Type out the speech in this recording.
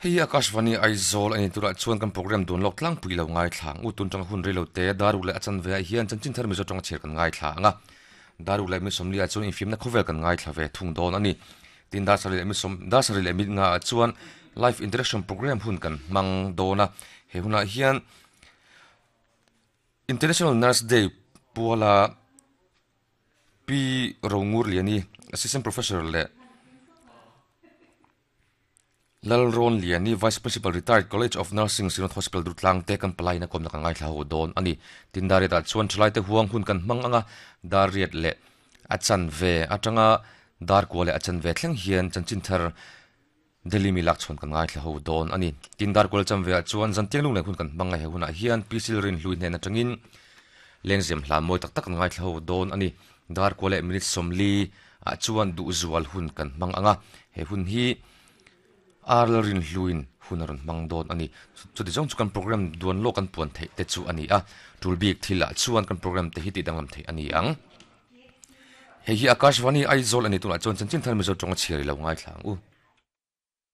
Hei hi Akashvani Aizawl a ni turah chuan kan program dun lawk tlangpui lo ngaithla ang. U tun tanga hun reilo te Daruk leh a chanve ah hian chanchin thar Mizo tanga chhiar kan ngaithla ang a. Daruk leh mi sawmli ah chuan infimna khawvel kan ngaithla ve thung dawn a ni. Tin dar sarih leh mi sawm dar sarih leh mit nga ah chuan live interaction program hun kan hmang dawn a. He hunah hian International Nurse Day puala Pi Rongur Liani, Assistant Professor leh Lalrawnliani, Vice Principal Retired College of Nursing, Synod Hospital Durtlang te kan palaiin a kawmna kan ngaithla ho dawn a ni. Tin dar riatah chuan thalaite huang hun kan hmang anga dar riat leh a chanve atanga dar kua leh a chanve thleng hian chanchin thar Delhi mi lak chhawn kan ngaithla ho dawn a ni. Tin dar kual chanve ah chuan zantiang lung leh hun kan hmang a he hunah hian Pi Silrin hlui hnen atangin lengzem hla mawi tak tak kan ngaithla ho dawn a ni. Dar kua leh minute 40 ah chuan duhzual hun kan hmang ang a, he hun hi Arl rinhluin hun a rawn hmang dawn a ni. Chuti zawng chu kan program duan lawk kan puan theih te chu a ni a, tul bik thil ah chuan kan program te hi tih danglam theih a ni ang. Hei hi Akashvani Aizawl a ni tunah chuan chanchin thar Mizo tawnga chhiar i lo ngaithla ang u.